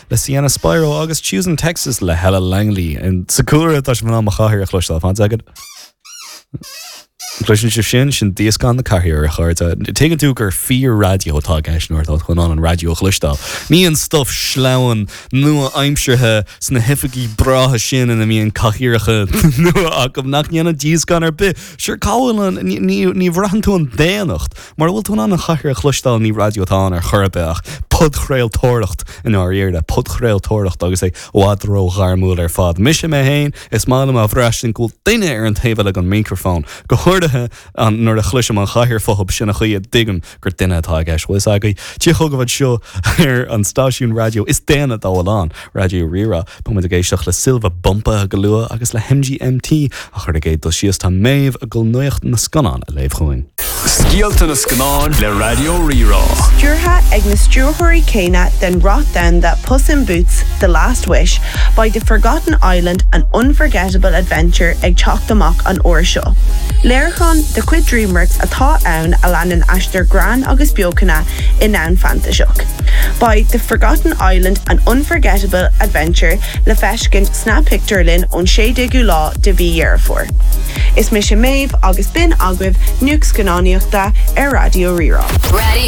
Le Sienna Spiro agus Choosing Texas le Hella Langley. Sa cúlra tá sibh in ann mo chathaoir a chloisteáil. Fan soicind. Cloiseann sibh sin? Sin díoscán na cathaoire, a chairde. Tuigeann tú gur fíor-raidió atá i gceist nuair atá tú in ann an raidió a chloisteáil. Ní an stuif sleamhain nua-aimseartha sna hoifigí breátha sin ina mbíonn cathaoireacha nua acu nach ndéanann díoscán ar bith. Sure, cá bhfuil an, ní, ní bhraitheann tú an daonnacht. Mura bhfuil tú in ann an chathaoir a chloisteáil ní raidió atá ann ar chor ar bith ach podchraoltóireacht i ndáiríre, podchraoltóireacht agus é i bhfad ró-ghairmiúil ar fad. Mise mé féin, is maith liom a bhraistint go bhfuil duine ar an taobh eile den mhicreafón, go háirithe nuair a chloisim an chathaoir fúthu, sin an chaoi a dtuigim gur duine atá i gceist. Bhfuil fhios agaibh? Dia chugaibh anseo ar an stáisiún raidió is daonna dá bhfuil ann, Raidió Rí-Rá. Beidh muid ag éisteacht le Silva Bumpa go luath agus le MGMT ach ar an gcéad dul síos tá Méabh ag dul nuacht na scannán a léamh chugainn. Scéalta na Scannán le Raidió Rí-Rá. Stiúrtha ag na stiúrthóirí céanna den rath domhanda Puss in Boots, The Last Wish, beidh The Forgotten Island, An Unforgettable Adventure ag teacht amach an uair seo. Léiriúchán de chuid DreamWorks atá ann a leanann aistear greann agus beochana i ndomhan fantaiseach. Beidh The Forgotten Island, An Unforgettable Adventure le feiscint sna pictiúrlanna ón 16ú lá de mhí Dheireadh Fómhair. Is mise Méabh agus b'in agaibh nuacht scannánaíochta ar Raidió Rí-Rá.